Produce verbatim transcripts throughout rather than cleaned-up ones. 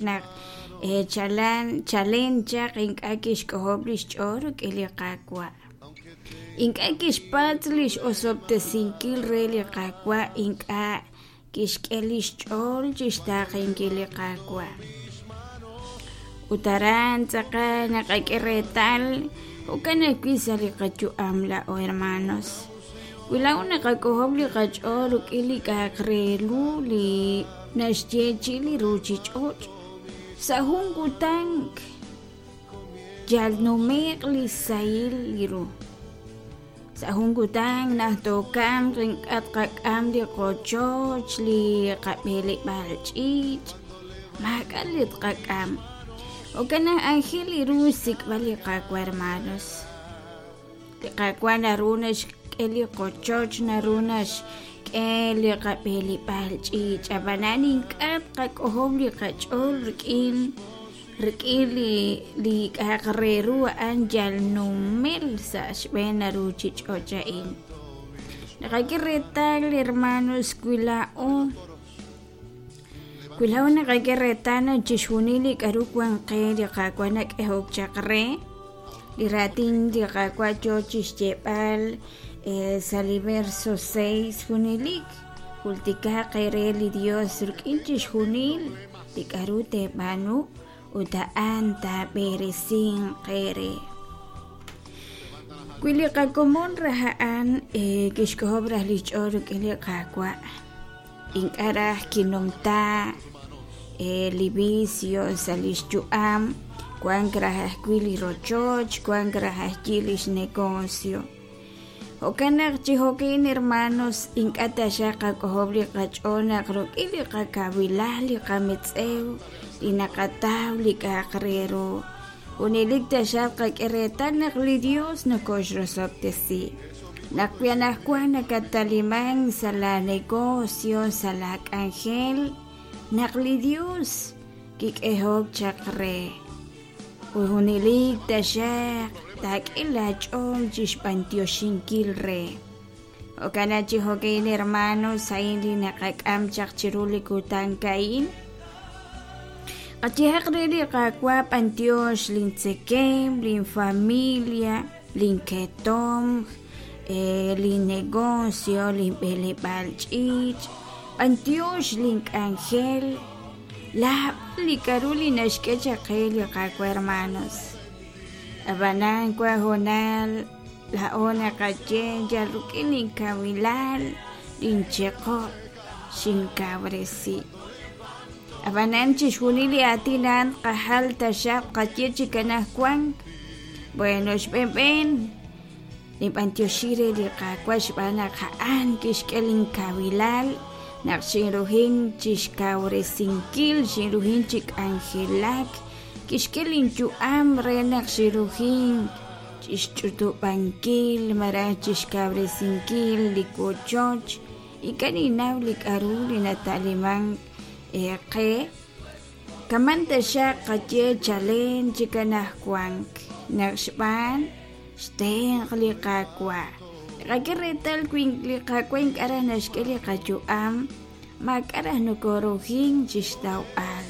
Naq chalan chalen chaq ink'a' kixk'ojob' li xch'ool rik'in li Qaawa', ink'a' kixpatz' li x'osob'tesinkil re li Qaawa', ink'a' kixk'e li xch'ool chi xtaaqenkil li Qaawa'. Ut aran tz'aqal naqak'e reetal jo'kan ajwi' sa' li qayu'am laa'o hermanos, wi laa'o naqak'ojob' li qach'ool rik'in li k'a'aq re ru li naxyeechi'i li ruuchich'och', sa' jun kutan yal nume'q li sahil li ru, sa' jun kutan naq tookamq ink'a' tqak'am li qochoch, li qab'eleb'aal ch'iich', maak'a' li tqak'am. Jo'kan naq aajel ru xsik'b'al li Qaawa' hermanos. Li Qaawa' naru naxk'e li qochoch, naru naxk'e li qab'eleb'aal ch'iich', ab'anan ink'a' tqak'ojob' li qach'ool rik'in rik'in li li k'a'aq re ru a'an yal numel sa' xb'een ruuchich'och' a'in. Naqak'e reetal hermanos wi laa'o wi laa'o naqak'e reetal naq chixjunil li k'a'ru wan qe li Qaawa' nak'ehok chaq re, li raatin li Qaawa' yoo chixyeeb'al sa' li verso seis junelik jultikaq eere li Dios rik'in chixjunil li k'a'ru teeb'aanu ut a'an taab'eresinq eere. Wi li qakomon raj a'an kixk'ojob' raj li xch'ool rik'in li Qaawa', ink'a' raj kinumta li vicio sa' li xyu'am, wank raj ajwi' li rochoch, wank raj ajwi' li xnegocio. Jo'kan naq chi jo'kin hermanos ink'a' taxaq qak'ojob' li qach'ool naq rik'in li qakawilal, li qametz'ew, li naqataw li k'a'aq re ru, junelik taxaq qak'e reetal naq li Dios nokoxrosob'tesi. Naq wi anaqwan nakataliman sa' la negocio, sa' la k'anjel, naq li Dios kik'ehok chaq re. Ut junelik taxaq taak'e laach'ool chi xb'antioxinkil re. Jo'kan naq chi jo'kin hermanos a'in li naqak'am chaq chiru li kutan a'in. Qayehaq re li Qaawa' b'antiox lintzekem, linfamilia, linketomq, linnegocio, linb'eleb'aal ch'iich', b'antiox link'anjel, laab'al li k'a'ru li naxk'e chaq qe li Qaawa' hermanos. Ab'anan wan hoonal laa'o naqaye yal rik'in linkawilal, lincheqob' xinkawresi. Ab'anan chixjunil li aatin a'an qajal taxaq qaye chik anaqwan. Bueno, xb'een ninb'antioxi re li Qaawa' xb'aan naq a'an kixk'e linkawilal naq xinrujin chixkawresinkil, xinrujin chi k'anjelak, kixk'e linyu'am re naq xinrujin chixch'utub'ankil malaj chixkawresinkil li wochoch. Ink'a' ninnaw li k'a'ru li nata'liman qe. Kaman taxaq qaye chalen chik anaqwan naq xb'aan xtenq li Qaawa'. Qak'e reetal wi li Qaawa' ink'a' raj naxk'e li qayu'am, maak'a' raj nokorujin chixtawb'al.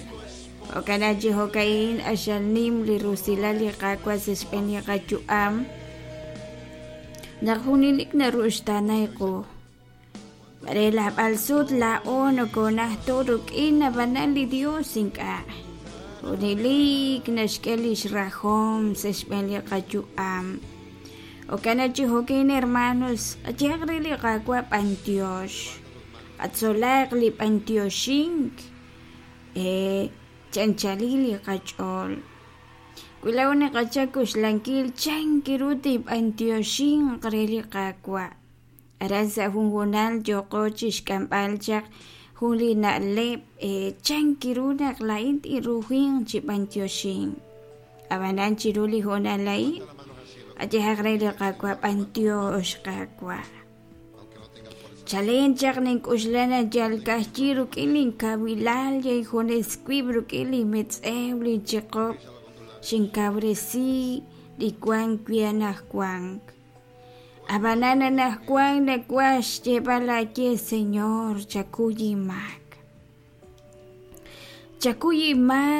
Jo'kan naq chi jo'ka'in axal nim li rusilal li Qaawa' sa' xb'een li qayu'am naq junelik naruxtaanay qu. Mare laab'al sut laa'o nokonajto rik'in ab'anan li Dios ink'a'. Junelik naxk'e li xrajom sa' xb'een li qayu'am. Jo'kan naq chi jo'kin hermanos, qayehaq re li Qaawa' b'antiox, qatzolaq li b'antioxink chanchalil li qach'ool. Wi laa'o naqachak kuxlankil chanki ru tib'antioxinq re li Qaawa'. Aran sa' jun hoonal yooqo chixk'amb'al chaq jun li na'leb' chanki ru naq laa'in tinrujinq chi b'antioxink. Ab'anan chiru li hoonal a'in, qayehaq re li Qaawa' b'antiox Qaawa'. Chalen chaq nink'uxla naq yal ka'ajyi rik'in linkawilal yay junes wib' rik'in linmetz'ew linchiqob' xinkawresi li wank wi anaqwan. Ab'anan anaqwan nawaj xyeeb'al aaye Señor chakuy inmaak. Chakuy inmaak.